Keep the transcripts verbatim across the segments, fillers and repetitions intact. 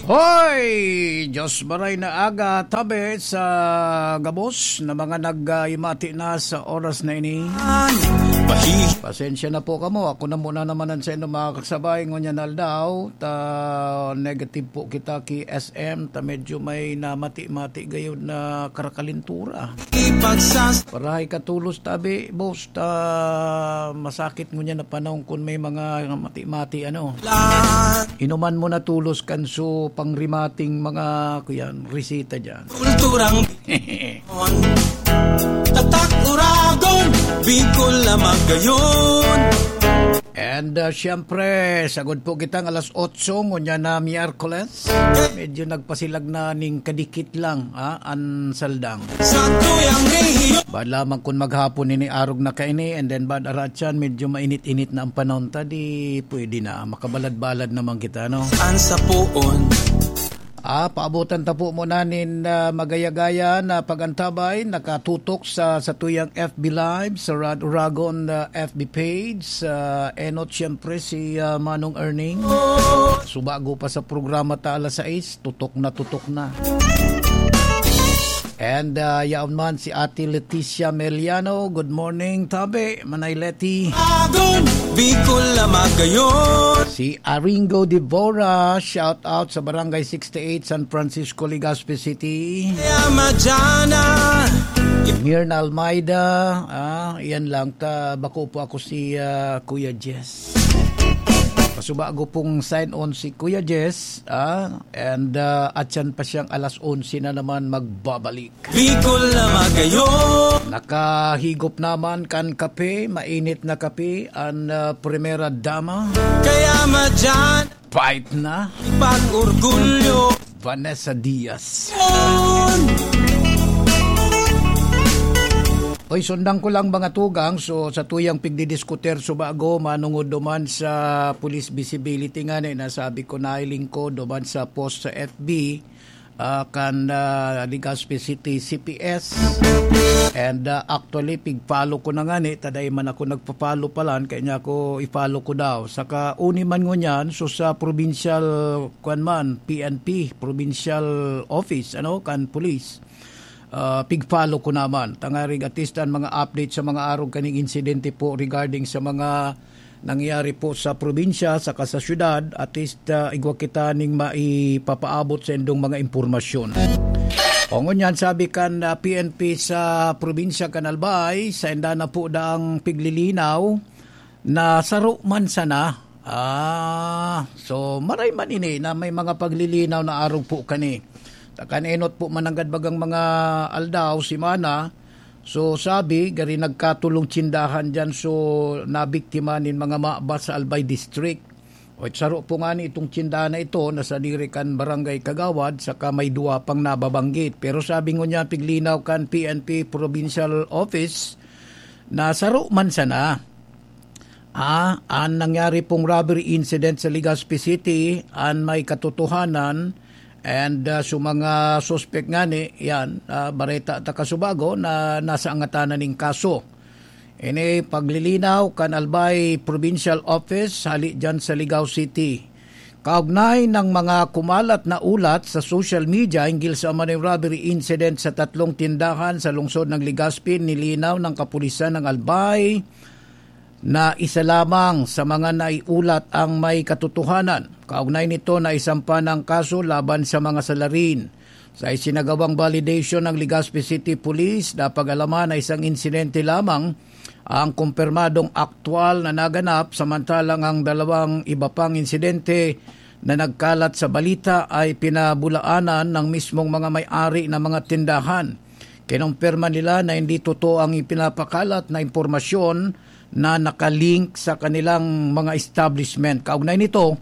Hoy! Diyos maray na aga, tabi sa gabos na mga nagmati na sa oras na ini. Pasensya na po kamo. Ako na muna naman ang sa inyo, mga kasabay. Ngunyan aldaw, ta negative po kita ki S M, ta medyo may namati-mati gayod na karakalintura. Ipagsas- Parahay ka tolos, tabi, boss, ta masakit ngunyan na panahon kun may mga mati-mati, ano. Inuman mo na tolos kan so pangrimating mga, kuyan, resita dyan. Kulturang Tatak Uragon, Bicol na magayon. And, uh, siyempre, sagod po kitang alas otso, ngunyan na Miyerkules. Medyo nagpasilag na ning kadikit lang, ah, an saldang. Sa tuyang rehiyon. Bad lamang kun maghapon ini, arog na kaini, and then bad aratyan, medyo mainit-init na ang panahon ta, di pwede na, makabalad-balad naman kita, no? An sa poon. Ah, paabotan ta po muna nin, ah, magaya-gaya na pag-antabay, nakatutok sa, sa tuyang F B Live, sa Rad Uragon, ah, F B page, sa Enot, siyempre, si, ah, Manong Erning. Subago pa sa programa ta alas sais, tutok na, tutok na. And, ah, yaon man si Ate Leticia Meliano. Good morning, tabi, Manay Leti. Agon, Bicol na magayon. Si Aringo Devora, shout out sa Barangay sixty-eight, San Francisco, Legazpi City. Kaya madyan na. Mirna Almeida, ah, yan lang, ta, bako po ako si, ah, Kuya Jess. Pasubago pong sign on si Kuya Jess, ah, and, ah, atyan pa siyang alas onse na naman magbabalik. Bicol na magayon. Nakahigop naman kan kape, mainit na kape, an, ah, primera dama. Kaya madyan. Pait na. Pag-orgulyo. Vanessa Diaz. Yun. Oy, sundan ko lang, mga tugang. So, sa tuyang pigdidiskutir, subago, manungod duman sa police visibility nga ni, nasabi ko, nahiling ko duman sa post sa F B, ah, kan, ah, Legazpi City C P S. And, ah, actually, pig-follow ko na nga ni, taday man ako nagpa-follow palan, kaya niya ako i-follow ko daw. Saka, uni man ngunyan, so sa provincial, kwan man, P N P, provincial office, ano, kan police. Ah, pig-follow ko naman. Tangarig at least an mga update sa mga arog kaning insidente po regarding sa mga nangyari po sa probinsya saka sa syudad, at least, ah, igwa kita ning maipapaabot sa indong mga impormasyon. O ngunyan, sabi kan, ah, P N P sa probinsya kan Albay, sainda na po daang piglilinaw na saro man sana. Ah, so maray man ini na may mga paglilinaw na arog po kani. Ta kan enot po mananggad bagang mga aldaw, semana, so sabi, gari nagkatulong tsindahan diyan, so nabiktima nin mga mabas sa Albay District. O, saro po nga ni itong tsindahan na ito na sadiri kan Barangay Kagawad, saka may duwa pang nababanggit. Pero sabi ngunyan, piglinaw kan P N P Provincial Office na saro man sana, ah, an nangyari pong robbery incident sa Legazpi City, an may katotohanan, and, ah, sa mga suspek ngani, yan, ah, bareta ta kasubago na nasa angatanan ning kaso. Ini paglilinaw kan Albay Provincial Office hali dyan sa Ligao City. Kaugnay ng mga kumalat na ulat sa social media hinggil sa umano'y robbery incident sa tatlong tindahan sa lungsod ng Legazpi, nilinaw ng kapulisan ng Albay na isa lamang sa mga naiulat ang may katotohanan. Kaugnay nito, naisampa ng kaso laban sa mga salarin. Sa isinagawang validation ng Legazpi City Police, napag-alaman na isang insidente lamang ang kumpirmadong aktual na naganap, samantalang ang dalawang iba pang insidente na nagkalat sa balita ay pinabulaanan ng mismong mga may-ari ng mga tindahan. Kinumpirma nila na hindi totoo ang ipinapakalat na impormasyon na nakalink sa kanilang mga establishment. Kaugnay nito,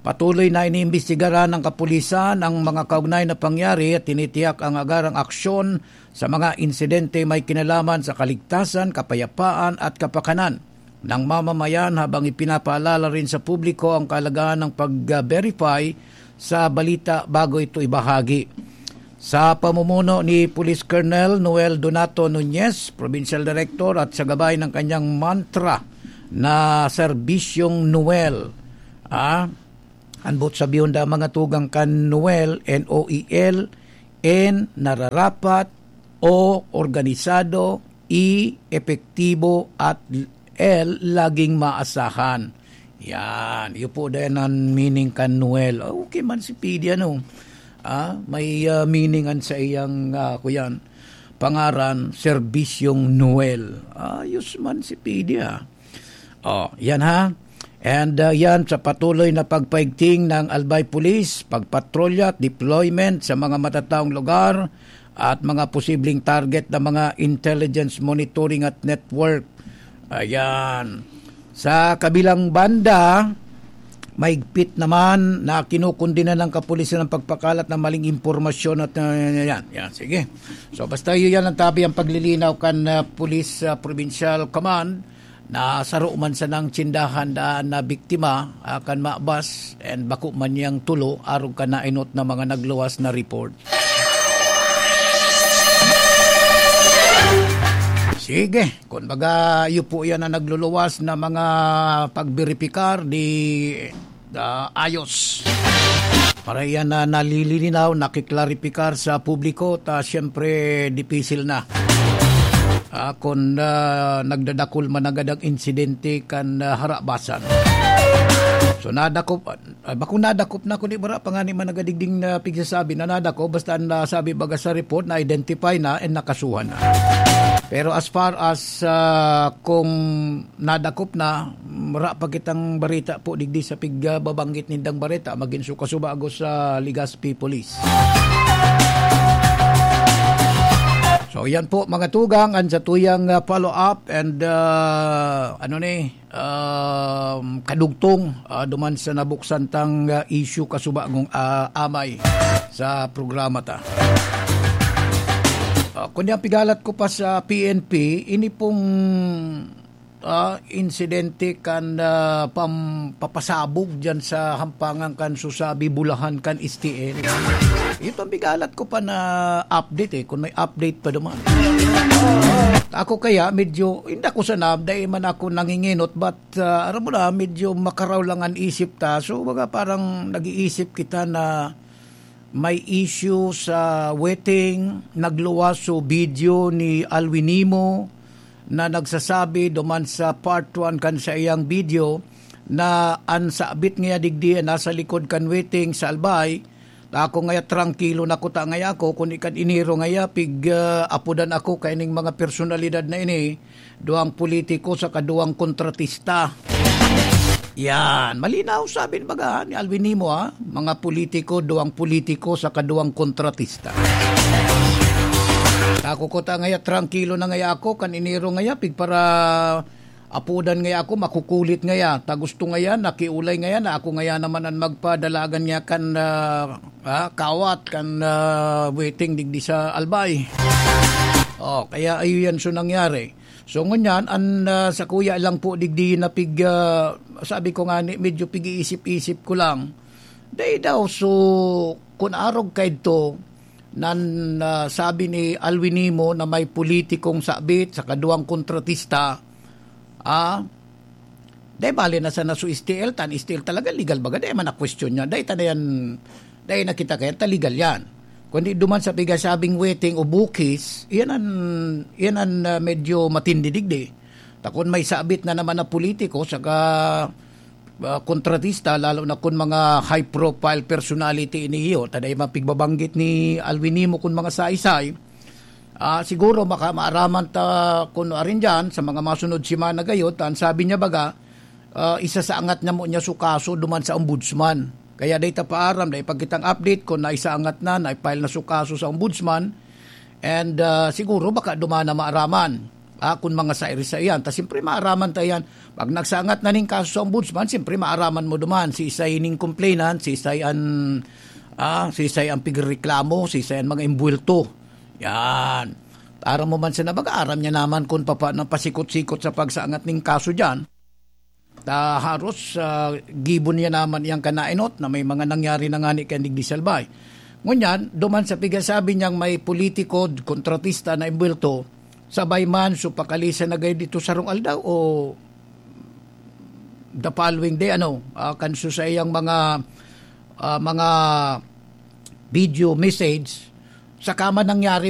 patuloy na iniimbestigaran ng kapulisan ang mga kaugnay na pangyari at tinitiyak ang agarang aksyon sa mga insidente may kinalaman sa kaligtasan, kapayapaan at kapakanan ng mamamayan, habang ipinapaalala rin sa publiko ang kahalagahan ng pag-verify sa balita bago ito ibahagi. Sa pamumuno ni Police Colonel Noel Donato Nunez, Provincial Director, at sa gabay ng kanyang mantra na Serbisyong Noel, ah, An boot sabihon da mga tugang kan Noel, N O E L, N, nararapat, O, organisado, E, epektibo, at L, laging maasahan. Yan. Iyo po din ang meaning kan Noel. Okay man si P D, ano? Ah, may, ah, meaning an sa iyang, ah, kuyan, pangaran, Serbisyong Noel. Ayos man si P D, ah. Oh, yan ha. And, ah, yan sa patuloy na pagpaigting ng Albay Police, pagpatrolya at deployment sa mga matataong lugar at mga posibleng target ng mga intelligence monitoring at network. Ayan. Sa kabilang banda, mahigpit naman na kinukundina ng kapulisan ang pagpakalat ng maling impormasyon at, ah, yan, yan. Sige. So, basta yun yan ang tabi ang paglilinaw kan, ah, Police, ah, Provincial Command na saro man sanang tsindahan daan na biktima, ah, kan mabas and bako man niyang tulo arog kan nainot na mga nagluwas na report. Sige, kun baga, iyo po yan ang nagluluwas na mga pagberipikar, di, ah, ayos. Para yan na nalilinaw, nakiklaripikar sa publiko, ta siyempre, dipisil na. Ah, kun, ah, nagdadakul man agad ang insidente kan, ah, harabasan. So, nadakop, ah, bako nadakop na, kundi bara pa nga ni man nagadigding na pigsasabi na nadakop, basta ang nasabi baga sa report, na-identify na and nakasuhan na. Pero as far as, ah, kung nadakop na, wara pa kitang bareta po digdi sa pigbabanggit nindang bareta, magin su kasubago sa Legazpi Police. So, yan po, mga tugang, ang satuyang, ah, follow-up and, ah, ano ni, um, kadugtong, ah, duman sa nabuksan tang, ah, issue kasubagong, ah, amay sa programa ta. Ah, kundi ang pigalat ko pa sa P N P, ini pong ah, insidente kan, ah, pam-, papasabog diyan sa hampangan kan Susabi, Bulahan, kan S T L. Ito ang bigalat ko pa na update eh, kung may update pa duman. Ako kaya, medyo, hindi ako sana, dahil man ako nanginginot, but, ah, aram mo na, medyo makaraw lang ang isip ta. So, baga parang nag-iisip kita na may issue sa weteng, nagluwas so video ni Alwin Nimo na nagsasabi duman sa part one kan saiyang video na an sabit ngaya digdi nasa likod kan weteng sa Albay, ta ako ngaya trangkilo na kuta ngaya ako, kun ikan enero ngaya pig, ah, apodan ako kaining mga personalidad na ini, duwang politiko saka duwang kontratista. Yan. Malinaw, sabi ni baga ni Alwin Nimo, ha? Mga politiko, duwang politiko, saka duwang kontratista. Ako kuta ngaya, trangkilo na ngaya ako, kan enero ngaya, pig para apodan ngaya ako, makukulit ngaya. Ta gusto ngaya, nakiulay ngaya, na ako ngaya naman ang magpadalagan niya kan, ah, ah, kawat, kan, ah, weteng digdi sa Albay. Oh, kaya ayun yan so nangyari. So, ngunyan, an, ah, sakuya lang po digdi na pig-, ah, sabi ko nga ni, medyo pig-iisip-isip ko lang. Dai daw, so, kun arog kaidto, nan, ah, sabi ni Alwin Nimo na may politikong sabit sa kaduwang kontratista, ah, dai bale na sana so S T L, tan S T L talaga legal baga, dai man na question niya, dai ta na yan, dai na kita kaya, ta legal yan. Kundi duman sa pigasabing weteng o bukis, iyan an, iyan an, ah, medyo matindi digdi. Ta kun may sabit na naman na politiko, saka, ah, kontratista, lalo na kun mga high-profile personality ini iyo, ta dai mapigbabanggit ni Alwin Nimo kun mga saysay, ah, siguro maka-, maaraman ta kun arin diyan, sa mga masunod semana gayo, ta an sabi niya baga, ah, isasaangat na mo niya su kaso duman sa ombudsman. Kaya dai ta paaram, dai pa kitang update kun naisaangat na, na-file na su kaso sa ombudsman. And, ah, siguro baka duman na maaraman. Ah, kun mga sairi sa iyan. Ta siyempre maaraman ta iyan. Pag nagsaangat na ning kaso sa ombudsman, siyempre maaraman mo duman. Si isay ning complainant, si isay an, ah, si isay ang pigreklamo, si isay ang mga imbwelto. Yan. Aram mo man sana baga, aram niya naman kun papaano pasikot-sikot sa pagsaangat ning kaso diyan. Ta haros, ah, gibo niya naman iyang kanainot na may mga nangyari na ngani kan digdi sa Albay. Ngunyan, duman sa pigasabi niyang may politiko, kontratista na imbwelto, sabay man, so pakalisan na gayud dito sarong aldaw o the following day, ano, ah, kan so sa iyang mga ah, mga video message, saka man nangyari